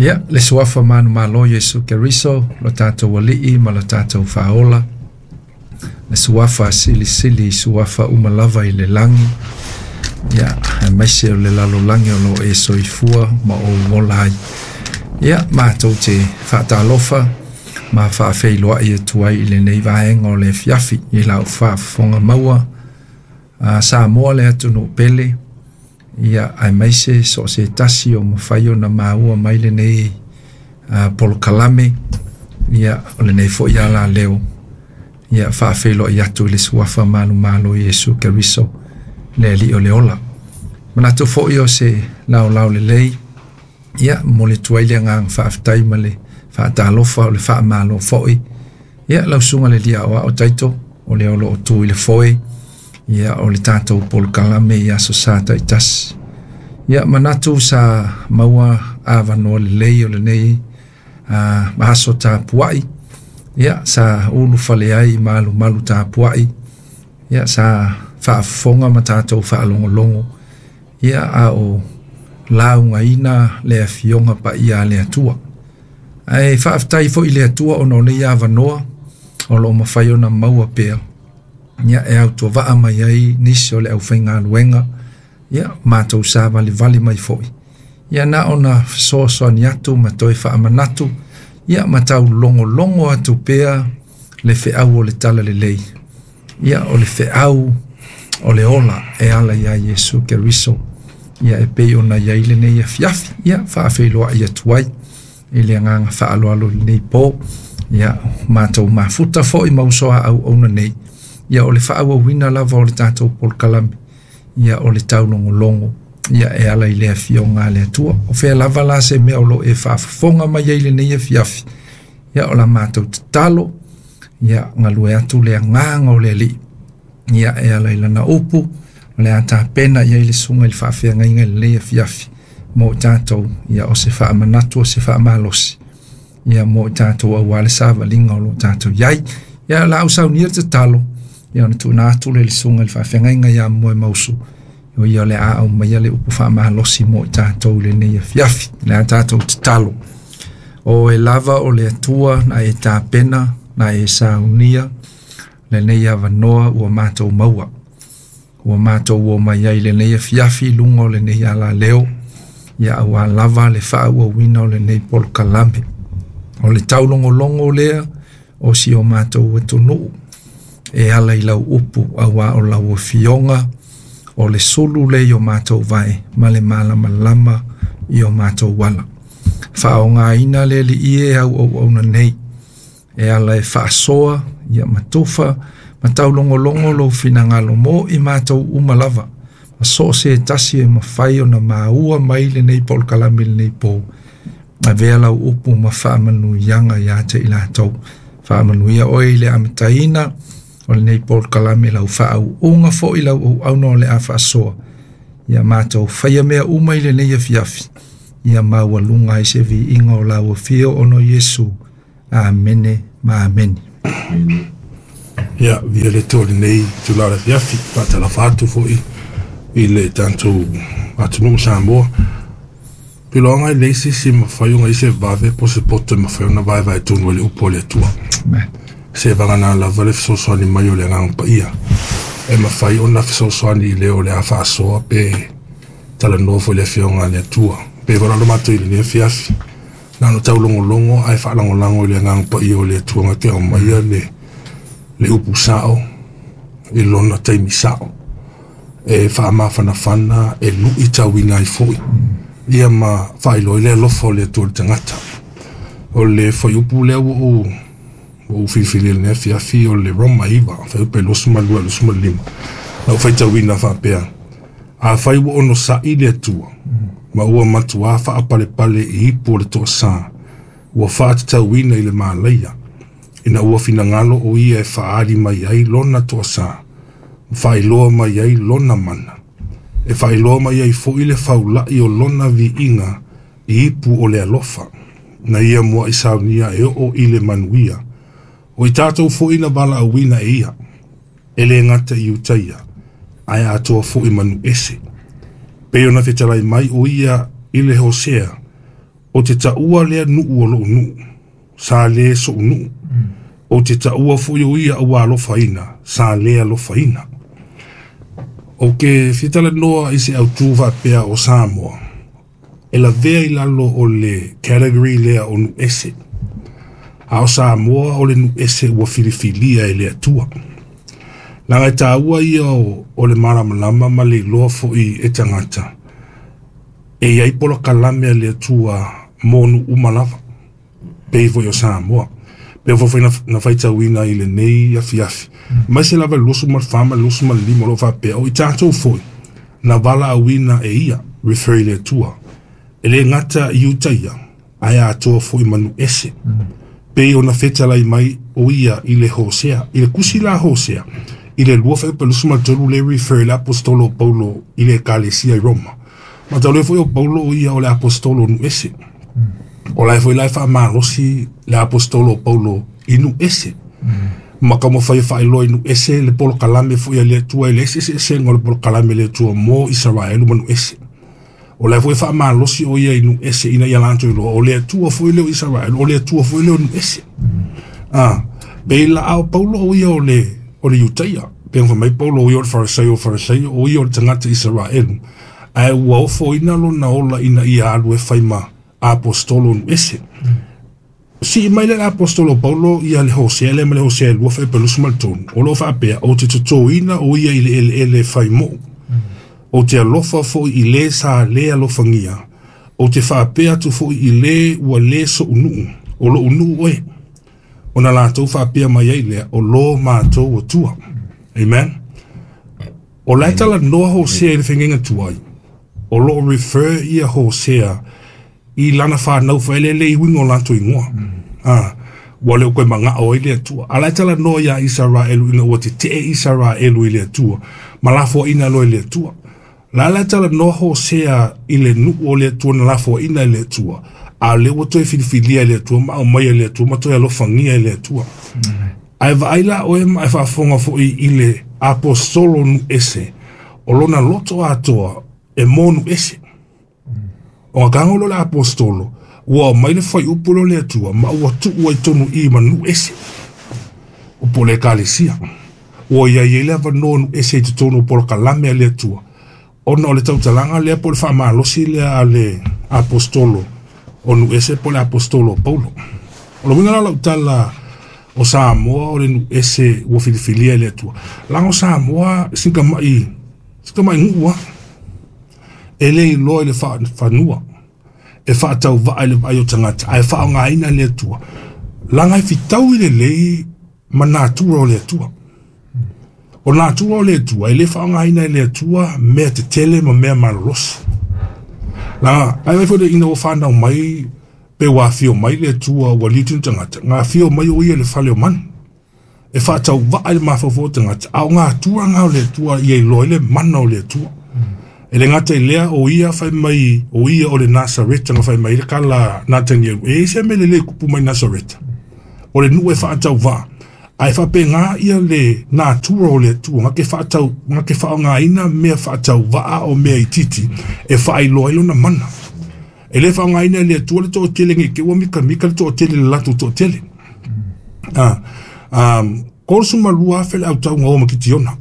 Ia, le suafa manumalo Iesu Keriso, lo tatou Alii ma lo tatou Faaola, le suafa silisili suafa uma lava i le lagi, ia, aemaise o le lalolagi o lo o e soifua ma ou ola ai. Ia, matou te faatalofa ma faafeiloai atu ai i lenei vaega o le afiafi i lau faafofoga maua a Samoa le atunuu pele, ia aemaise so o se tasi o mafai ona maua mai lenei polokalame, ia o lenei foi alaleo, ia faafeiloai atu i le suafa manumalo Iesu Keriso, le Alii o le ola. Manatu foi o se laolao lelei, ia momoli atu ai le agaga faafetai ma le faatalofa o le faamalo foi. Ia lau susuga i le alii aoao Taito, o lea o lo o tu i le foe, ia o le tatou polokalame i Aso Sa taitasi. Ia manatu sa maua avanoa lelei o lenei aso tapuai, ia sa ulufale ai malumalu tapuai, ia sa faafofoga ma tatou faalogologo, ia a o laugaina le afioga paia a le Atua. Ae faafetai foi i le Atua ona o nei avanoa o lo o mafai ona maua pea, ia e autovaa mai ai nisi o le aufaigaluega, ia matou savalivali mai foi, ia na ona fesoasoani atu ma toe faamanatu, ia ma taulogologo atu pea le feau o le talalelei, ia o le feau o le ola e ala iā Iesu Keriso, ia e pei ona i ai lenei afiafi, ia faafeiloai atu ai i le agaga faaaloalo i lenei po. Ia matou mafuta foi ma uso a auauna nei, ia o le faaauauina lava o le tatou polokalame, ia o le taulogologo, ia e ala i le afioga a le Atua. O fea lava la se mea o lo o e faafofoga mai ai lenei afiafi, ia o la matou tatalo, ia galue atu le agaga o le Alii, ia e ala i lana upu, o le a tapena i ai le susuga i le faafeagaiga i lenei afiafi mo i tatou, ia o se faamanatu o se faamalosi, ia mo i tatou aua le savaliga o lo o tatou i ai. Ia o le a ou saunia le tatalo, ia ona tuuina atu lea i le susuga i le faafeagaiga ia Moemausu, o ia o le a aumaia le upu faamalosi mo i tatou i lenei afiafi. O le a tatou tatalo. O e lava o le Atua na e tapena, na e saunia lenei avanoa ua matou maua. Ua matou omai ai i lenei afiafi i luga o lenei alaleo, ia aua lava le faaauauina o lenei polokalame. O le taulogologo lea o si o matou atunuu e ala i lau upu, aua o lau afioga o le sulu lea i o matou vae ma le malamalama i o matou ala. Faaaogaina le Alii e au auauna nei e ala e faasoa, ia ma tufa ma taulogologo lou finagalo mo i matou uma lava, ma so o se tasi e mafai ona maua mai lenei polokalame i lenei po. Avea lau upu ma faamanuiaga ia te i latou. Faamanuia oe i le amataina o lenei polokalame, lau faauuga foi lau auauna o le a faasoa. Ia matou faia mea uma i lenei afiafi, ia maualuga ai se viiga o lau afio ona o Iesu. Amene ma amene. Ia, viia le Atua i lenei itula o le afiafi, faatalofa atu foi i le tatou atunuu Samoa. Piloaga e leai se isi e mafai ona i ai se vave po o se poto e mafai ona vaevae tonu ai le upu a le Atua. Se vagana lava le fesoasoani mai o le Agaga Paia e mafai ona fesoasoani i le o le a faasoa pe talanoa foi i le Afioga a le Atua. Pei foi la ona matou i lenei afiafi, na ona taulogologo ae faalagolago i le Agaga Paia o le Atua na te aumaia le upu sao i lona taimi sao e faamafanafana, e luitauina ai foi ia ma faailoa ai le alofa o le Atua i le tagata. O le fuaiupu lea ua ou filifili i lenei afiafi o le Roma 9, fuaiupu e 22 25. Na ou faitauina faapea, afai ua onosai le Atua, ma ua matuā faapalepale i ipu o le toasa, ua faatatauina i le malaia, ina ua finagalo o ia e faaali mai ai lona toasa, ma faailoa mai ai lona mana, e faailoa mai ai foi le faulai o lona viiga i ipu o le alofa, na ia muai saunia e oo i le manuia, o i tatou foi na valaauina e ia, e le gata i Iutaia, ae atoa foi manu ese. Pei ona fetalai mai o ia i le Hosea, Ou te taua lea nuu o lou nuu, sa lē soʻu nuu. Ou te taua foi o ia ua alofaina, sa lē alofaina. Ou ke fia talanoa i se autū faapea o Samoa, e lavea i lalo o le category lea o nuu ese. A o Samoa o le nuu ese ua filifilia e le Atua. Leaga e taua ia o le malamalama ma le iloa foi e tagata, e i ai polokalame a le Atua mo nuu uma lava, pei foi o Samoa. Pei foi na faitauina i lenei afiafi. Mai se lava le 24 ma le 25 o lo o faapea, o i tatou foi, na valaauina e ia, refer i le Atua. E le gata i Iutaia, ae atoa foi ma nuu ese. Pei ona fetalai mai o ia i le Hosea, i le tusi la Hosea, i le 2:23 le refer le apostolo Paulo i le ekalesia i Roma. Ma tau le foi o Paulo o ia o le apostolo nuu ese. O la e foi la e faamalosi le apostolo Paulo i nuu ese. Ma taumafai e faailoa i nuu ese le polokalame foi a le Atua i le eseeseesega o le polokalame a le Atua mo Isaraelu ma nuu ese. O la e foi e faamalosi o ia i nuu ese ina ia latou iloa o le Atua foi lea o Isaraelu, o le Atua foi lea o nuu ese. Pei la a o Paulo o ia o le Iutaia. Pei ona fai mai Paulo o ia o le Farisaio o Farisaio, o ia o le tagata Isaraelu. Ae ua ofoina lona ola ina ia alu e fai ma apostolo nuu ese. Sii mai le apostolo Paulo ia le Hosea lea ma le Hosea 2:23. O lo o faapea, ou te totoina o ia i le eleele fai moʻu. Ou te alofa foi i le sa le alofagia. Ou te faapea atu foi i le ua le soʻu nuu, o lou nuu oe. Ona latou faapea mai ai lea, o lo matou Atua. Amen. O la e talanoa Hosea i le fegega tuai. O lo o refer ia Hosea i lana whanau whaelele i uiga o latou igoa. Ua le o koe magao ai le Atua. A la e talanoa ia Isaraelu ina ua tetee Isaraelu i le Atua, ma lafoaina loa e le Atua. La la e talanoa Hosea i le nuu o le Atua na lafoaina e le Atua. A o lea ua toe filifilia e le Atua ma aumai e le Atua ma toe alofagia e le Atua. Ae vaai la oe ma e faafofoga foi i le apostolo nuu ese, o lona loto atoa e mo nuu ese. O ngā kago lo le apostolo, ua mai le whaiupu lo le Atua, ma ua tuu ai tonu i ma nuu ese. O po le ekalesia. Ua ia i le avanoa nuu ese i totonu o polokalame a le Atua. Ona o le tautalaga lea po o le faamalosi lea a le apostolo o nuu ese po o le apostolo o Paulo. O le uiga la o lau tala o Samoa o le nuu ese ua filifilia e le Atua. Leaga o Samoa sika mai nuu a. E le iloa i le fanua. E faatauvaa i le vaai o tagata, ae faaaogaina le Atua. Leaga e fitaui lelei ma natura o le Atua. O natura o le Atua, e le faaaogaina e le Atua mea tetele ma mea malolosi. Leaga, ai mai foi ina ua whanau mai, pe ua afio mai le Atua ua liu tino tagata, ngā afio mai o ia le fale o manu. E faatauvaa i le mafaufau o tagata, a o ngā atua ngā o le Atua ia iloa i le mana o le Atua. E le gata i lea o ia fai mai, o ia o le Nasareta nga fai mai le kala Natanielu. E ese me le le kupu mai Nasareta. O le nuu e faatauvaa. Ae faapega ia le natura o le Atua, nga ke whaatau, nga ke whaongaina mea faatauvaa o mea itiiti, e faailoa ai lona mana. E le whaongaina e le Atua le toatele nge ke ua mika mika le toatele le latou toatele. 32,000 le autauga o ma Kitiona,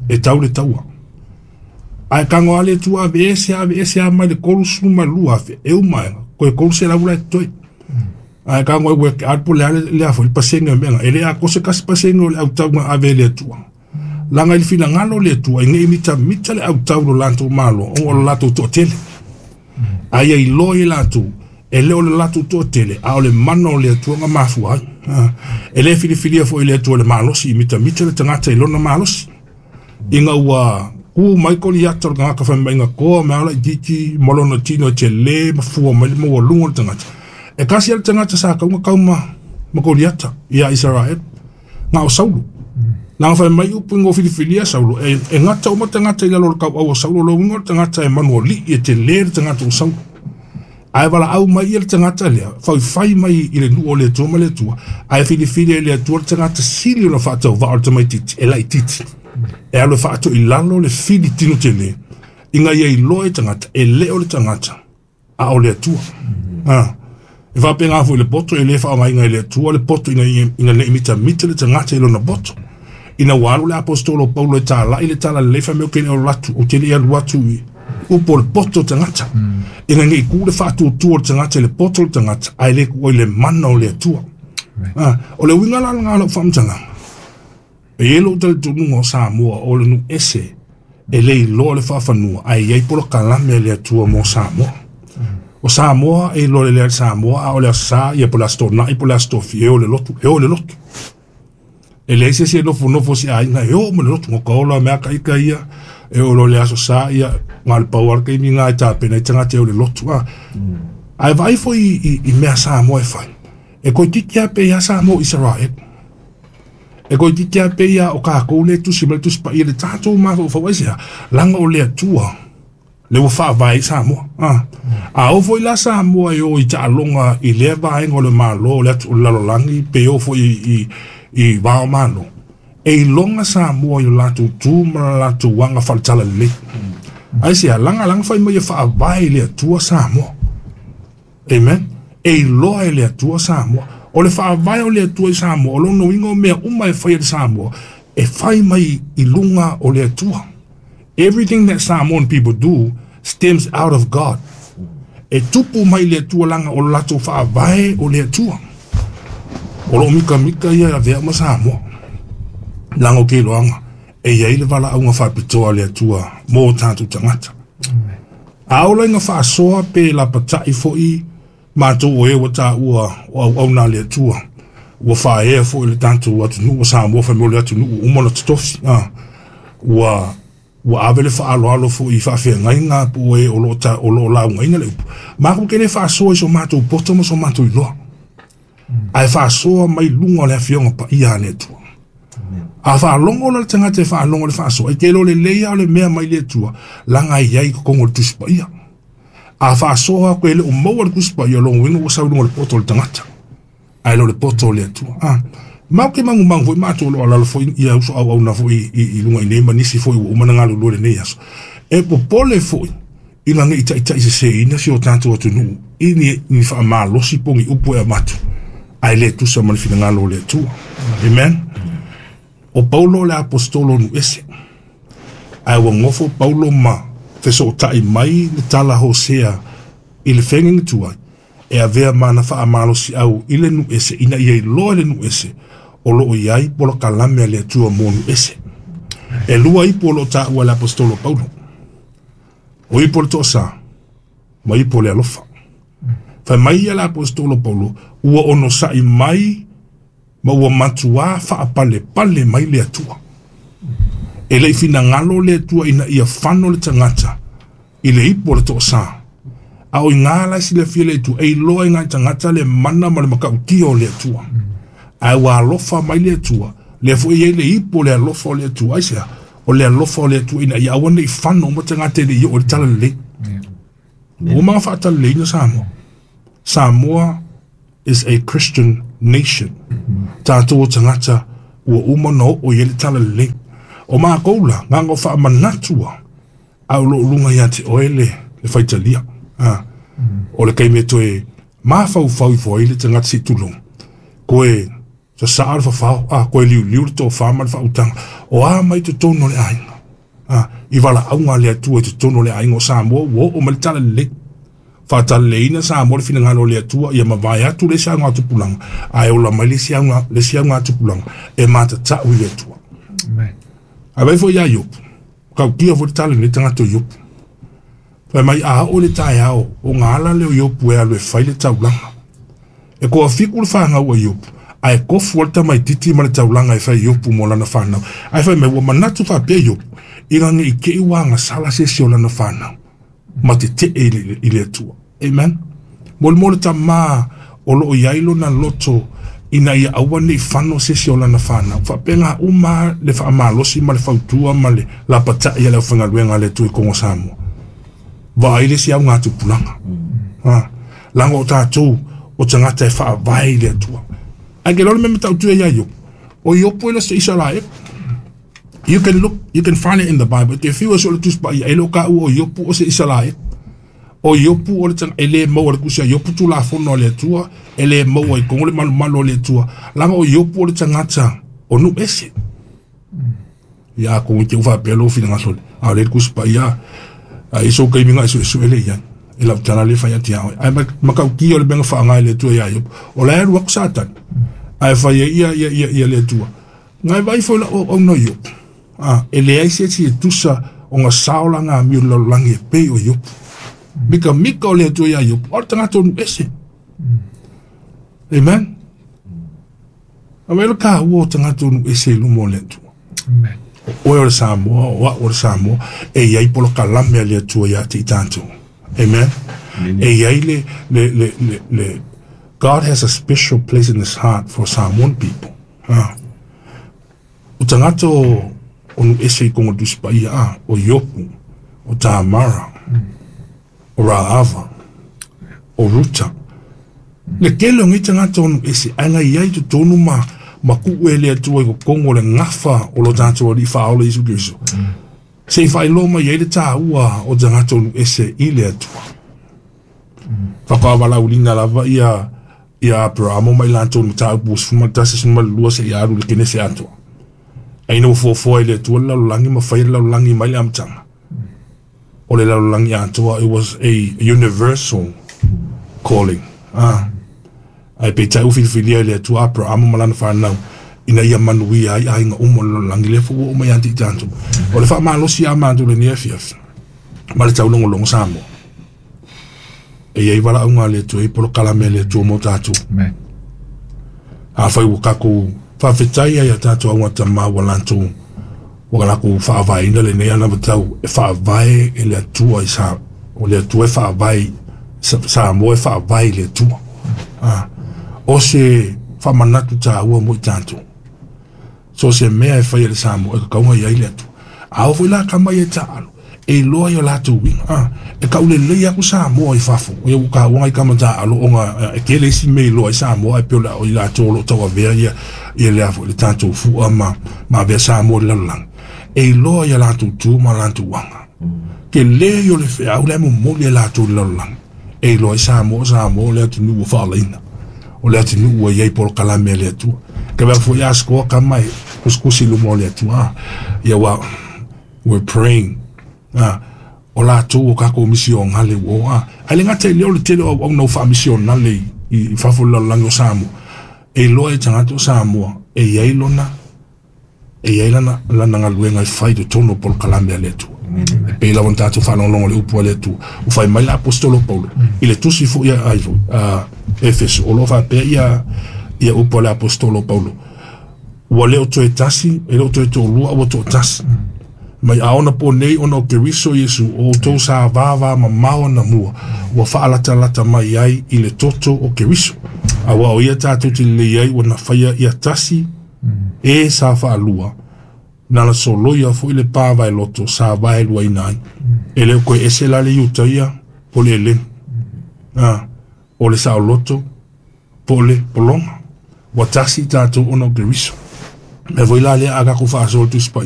e tau le taua. Ae kago a le Atua ave ese a mai le 32,000, e uma ega, koe 300 la e totoe. Ae kago e ua ke apu le ale le afo i pasenge o meanga, e le a kose kasi pasenge o le autauga ave le Atua. Langa i le finagalo le Atua, i ngei mita mita le autau lo latou malo, o lo latou toatele. Ae ia iloa i latou, e le o le latou toatele, a o le mana o le Atua nga mafua ai. E le filifilia foi le Atua le malosi, i mita mita le tagata i lona malosi. Ina ua ku mai Koliata o le tagata fai mai nga koa me ala i titi ma lona tino e te le ma fua mai le maualuga o le tagata. E kasi le tagata sa kauga kauma ma Koliata ia Israel, nga o Saulo. Langa fai mai upu ingo filifilia Saulo, e ngata uma tagata i lalo o le kauau o Saulo, lo uiga o le tagata e manualii e te le le tagata o Saulo. Ae valaau mai ia le tagata lea, faifai mai i le nuu o le Atua ma le Atua, ae filifilia e le Atua le tagata sili ona faatauvaa o le tamaitiiti, e laitiiti. E alu e faatoilalo le fili tino tele, ina ia iloa e tagata, e le o le tagata, a o le Atua. E faapena foi le poto e lē faaaogaina e le Atua le poto ina ina nei mitamita le tagata i lona poto. Ina ua alu le aposetolo o Paulo e tala'i le tala lelei fai mai ou te le alu atu ou te le i alu atu i upu o le poto o tagata. Ina nei tu le faatuatua o le tagata i le poto o le tagata ae le tuu ai le mana o le Atua. O le uiga la lena o lau faamatalaga. E i ai lou talitonuga o Samoa o le nuu ese e le iloa le faafanua ae i ai polokalame a le Atua mo Samoa. O Samoa e iloa lelei e Samoa a o le Aso Sa ia po o le Aso Toonai po o le Aso Tofi e o i le lotu, e o i le lotu. E leai se isi e nofonofo i se aiga e o uma i le lotu, ka ola mea ka ika ia e oo loa i le Aso Sa ia na o le pau lava le taimi lena e tapena ai tagata e o i le lotu. Ae vaai foi i mea Samoa e fai, e toeitiiti lava pei lava Samoa o Isaraelu. E toeitiiti lava pei lava o tatou lea e tusi mai le Tusi Paia i le tatou mafaufau. Aisea? Leaga o le Atua lea ua faavae ai Samoa. A oo foi la Samoa e o i taaloga i lea vaega o le Malo o le atu o le lalolagi pe o foi i va o Malo, e iloga Samoa i o latou tu ma le latou aga faale-talalelei. Aisea? Leaga leaga fai mai e faavae i le Atua Samoa. Amen. E iloa e le Atua Samoa. O le faavae o le Atua i Samoa, o lona uiga o mea uma e fai e le Samoa, e fai mai i luga o le Atua. Everything that Samoan people do stems out of God. E tupu mai le Atua leaga o le latou faavae o le Atua. O loo mikamika ia e avea ma Samoa. Leaga o ke iloaga, e i ai le valaauga faapitoa a le Atua mo tatou tagata. A ola ina faasoa pe lapata'i foi matou o e ua taua o auauna a le Atua, ua faaea foi le tatou atunuu o Samoa fai mai o le atunuu ua uma ona totofi, ua ua ave le faaaloalo foi i faafeagaiga po o e o lo o o lo o laugaina le upu. Matou te le faasoa i so matou poto ma so matou iloa, ae faasoa mai luga o le Afioga Paia a le Atua. A faalogo la le tagata e faalogo i le faasoa, e te iloa lelei lava o le mea mai le Atua, leaga e i ai i totonu o le Tusi Paia. A faasoa atu e le o maua le Tusi Paia, o lona uiga ua sau i luga o le poto o le tagata, ae le o le poto o le Atua. Matou te magumagu foi matou o lo o alaala foi ia uso auauna foi i luga i nei ma nisi foi ua uma ona galulue i lenei aso. E popole foi ina ne i taitaiseseina si o tatou atunuu i ni faamalosi po o ni upu e avatu ae le tusa ma le finagalo o le Atua. Amen. O Paulo o le aposetolo o nuu ese, ae ua nofo Paulo ma fesootai mai le tala Hosea i le feagaiga tuai e avea ma ana faamalosiau i le nuu ese ina ia iloa e le nuu ese o lo o i ai polokalame a le Atua mo nuu ese. E lua ipu o lo o taua e le aposetolo Paulo. O ipu o le toasa ma ipu o le alofa. Fai mai ia le aposetolo Paulo, ua onosai mai ma ua matuā faapalepale mai le Atua. E le i finagalo le Atua ina ia fano le tagata i le ipu o le toasa. A o iga la e silafia e le Atua, e iloa e nai tagata le mana ma le matautia o le Atua. Ae ua alofa mai le Atua, lea foi e i ai le ipu o le alofa o le Atua. Aisea? O le alofa o le Atua ina ia aua ne i fano uma tagata e le i oo i le talalelei. Ua uma ona faatalaleiina Samoa. Samoa is a Christian nation. Tatou o tagata ua uma ona oo i ai le talalelei. O matou la, na ona faamanatu lava, ae o lo o luga ia te oe le faitalia. O le taimi e toe mafaufau ifo ai le tagata se i tulou, toe sasaa le fafao, toe liuliu le tofa ma le faautaga, o a mai totonu o le aiga. I valaauga a le Atua i totonu o le aiga o Samoa ua oo mai le talalelei. Faatalaleina Samoa le finagalo o le Atua ia mavae atu le isi augatupulaga, ae ola mai le isi auga, le isi augatupulaga e matatau i le Atua. Amen. Ae vaai foi ia Iopu, tautia foi le tala i lenei tagata o Iopu. Fai mai a oo i le taeao, ona ala lea o Iopu e alu e fai le taulaga. E toafitu le fanau a Iopu, ae tofu ai le tamaitiiti ma le taulaga e fai e Iopu mo lana fanau. Ae fai mai, ua manatu faapea Iopu, ina ne i te i ua agasala se isi o lana fanau, ma tetee i le Atua. Amen. Molimau le tama o lo o i ai lona loto ina ia aua ne i fano se isi o lana fanau. Faapena uma le faamalosi ma le fautua ma le lapatai a le aufaigaluega a le Atua i totonu o Samoa. Vaai le isi augatupulaga. Leaga o tatou o tagata e faavae i le Atua. Ae ke iloa le mea matautu ia ia Iopu. O Iopu e le o se Isaraelu. You can look, you can find it in the Bible. E te fiu e sue le Tusi Paia, e le o taua o Iopu o se Isaraelu. O Iopu o le tanga e le maua le kusi a Iopu tulafono a le Atua, e le maua i kogo le malumalu o le Atua. Laga o Iopu o le tagata o nuu ese. Ia ko te ufa pelo finagalo. A o le kusi paia a iso kaimi nga suesue le iai. E lau tala le fai ati a oe. Ae makautia o le mea na faaaga e le Atua ia Iopu. O la e alu aku Satani. Ae fai ai ia ia ia ia le Atua. Ngai vaai foi la auauna o Iopu. A, e leai se isi e tusa ona sao lana amio i le lalolagi e pei o Iopu. Mikamika o le Atua ia Iopu, o le tagata o nuu ese. Amen. A mea le taua o tagata o nuu ese i luma o le Atua. Amen. O oe o le Samoa, o au o le Samoa, e i ai polokalame a le Atua ia te i tatou. Amen. E i ai le, le, le, le, le, God has a special place in his heart for Samoan people. Ah. O tagata o, o nuu ese i koga o le Tusi Paia, ah, o Iopu, o Tamara, o Raava, o Ruta. Le tele o nei tagata o nuu ese, ae na i ai i totonu ma, ma tuu e le Atua i totonu o le gafa o lo tatou Alii Faaola Iesu Keriso. Se i faailoa mai ai le taua o tagata o nuu ese i le Atua. Faatoa valaauliina lava ia ia Aperamo ma i latou i mataupu 11, 12 seia alu i le Kenese atoa. Ae ina ua fuafua e le Atua le lalolagi ma faia le lalolagi mai le amataga, o le lalolagi atoa, it was a universal calling. Ah. Ae peitai ua filifilia e le Atua Aperamo ma lana fanau ina ia manuia ai aiga uma o le lalolagi, lea foi ua oo mai ia te i tatou. O le faamalosi a matou i lenei afiafi ma le taulogologo Samoa. E i ai valaauga a le Atua, e i ai polokalame a le Atua mo tatou. Amen. Afai ua tatou faafetai ai a tatou augatama ua latou ua latou faavaeina lenei anavatau e faavae e le Atua i sa o le Atua e faavae Samoa e faavae i le Atua. Ah, o se faamanatu taua mo i tatou. So o se mea e fai e le Samoa e tatau ona i ai le Atua. A oo foi la tama ia e taaalo, e iloa i o latou uiga. A, e taulelei atu Samoa i fafo, ia ua taua nai tama taaalo ona e tele isi mea e iloa ai Samoa ae pei o i latou o lo o tauavea ia ia le a foi le tatou fua ma ma avea Samoa i le lalolagi. E iloa i a latou tu ma latou aga. Tele ia o le feau la e momoli e latou i le lalolagi. E iloa ai Samoa, o Samoa o le atunuu ua faaolaina. O le atunuu ua i ai polokalame a le Atua. Ke mea foi a skoa kama e kusikusi i luma o le Atua. Ah, ia ua, we're praying. Ah, o latou o kakou misionale ua o. Ah, ae le gata i lea o le tele o auauna ua faamisionale i, i fafo i le lalolagi o Samoa. E iloa e tagata o Samoa e i ai lona e i ai lana, lana galuega e fai i totonu o polokalame a le Atua. E pei lava ona tatou faalogologo i le upu a le Atua. Ua fai mai le Aposetolo Paulo i le tusi foi a, ai foi, a Efeso, o lo o faapea ia, ia upu a le Aposetolo Paulo. Ua le o toe tasi, e le o toe toalua, a ua toatasi. Mai a ona po nei ona o Keriso Iesu, o outou sa vavamamao anamua, ua faalatalata mai ai i le toto o Keriso. Aua o ia tatou te lelei ai ua na faia ia tasi, E sa faalua, na na soloia foi le pa vaeloto sa vaeluaina ai. E le o toe ese la le Iutaia po o le Eleni, a, o le saoloto po o le pologa. Ua tasi i tatou ona o Keriso. Mea foi la lea a tatou faasoa i le Tusi Paia.